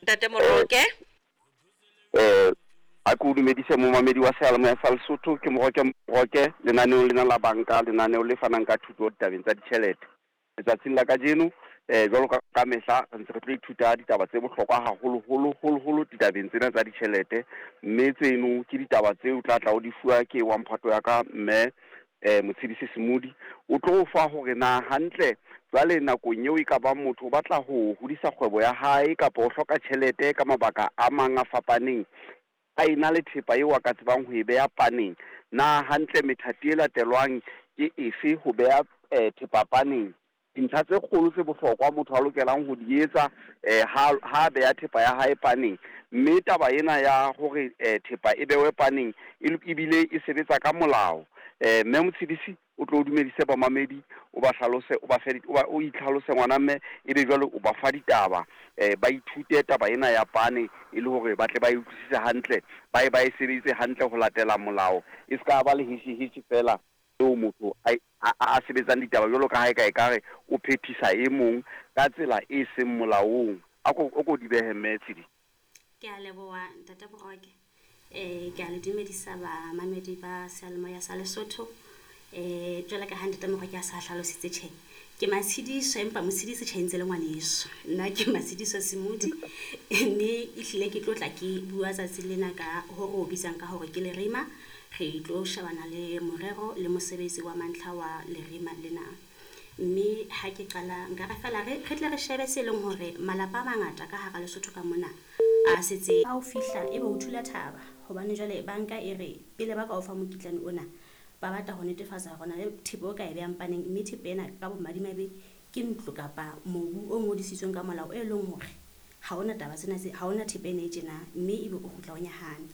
Ntate Moroke. A ke o dumedise momamedi wa seyalemoya sa Lesotho, ke Moroke Moroke lenaneong lena la banka, lenaneo le fanang ka thuto ditabeng tsa ditjhelete. Letsatsing la kajeno, jwalo ka ka mehla, re ntse re tlo ithuta ditaba tse bohlokwa haholoholo holoholo ditabeng tsena tsa ditjhelete, mme tseno ke ditaba tseo tla tla o di fuwa ke wa mphato ya ka mme Motshedisi Semodi. O tlo o fa hore na hantle jwale nakong eo e ka bang motho o batla ho hodisa kgwebo ya hae kapa o hloka tjhelete ka mabaka a mang a fapaneng, a ena le thepa eo a ka tsebang ho e beha paneng, na hantle methati e latelwang ke efe ho beha thepa paneng? Dintlha tse kgolo tse bohlokwa motho a lokelang ho di etsa ha ha a beha thepa ya hae paneng. Mme taba ena ya hore thepa e behwe paneng e ebile e sebetsa ka molao. Mme Motshedisi o tlo o dumedise bamamedi, o ba hlalose, o ba fe, o ba o itlhalose ngwana mme, ebe jwale o ba fa ditaba. Ba ithute taba ena ya pane e le hore ba tle ba e utlwisise hantle, ba e ba e sebedise hantle ho latela molao. E se ka ba lehesheheshe feela eo motho a a a sebetsang ditaba jwalo ka ha eka ekare o phethisa e mong ka tsela e seng molaong. A ko o ko di behe Mme Tshidi. Ke a leboha Ntate Boroke. Ke a le dumedisa bamamedi ba seyalemoya sa Lesotho. Jwalo ka ha Ntate Moroke a sa hlalositse tjhe, ke Matshediso empa Motshedisi tjhe ntse le ngwaneso. Nna ke Matshediso Semodi mme ehlile ke tlo tla ke bua tsatsing lena ka ho re o bitsang ka hore ke lerima. Re tlo shebana le morero le mosebetsi wa mantlha wa lerima lena. Mme ha ke qala nka re feela re re tle re shebe se leng hore malapa a mangata ka hara Lesotho ka mona a setse. Ha o fihla ebe o thula thaba hobane jwale banka e re pele ba ka o fa mokitlane ona ba batla ho netefatsa hore na le thepa o ka e behang paneng mme thepa ena ka bomadimabe ke ntlo kapa mobu o ngodisitsweng ka molao e leng hore ha ona taba tsena tse ha ona thepa ena e tjena mme ebe o kgutla o nyahame.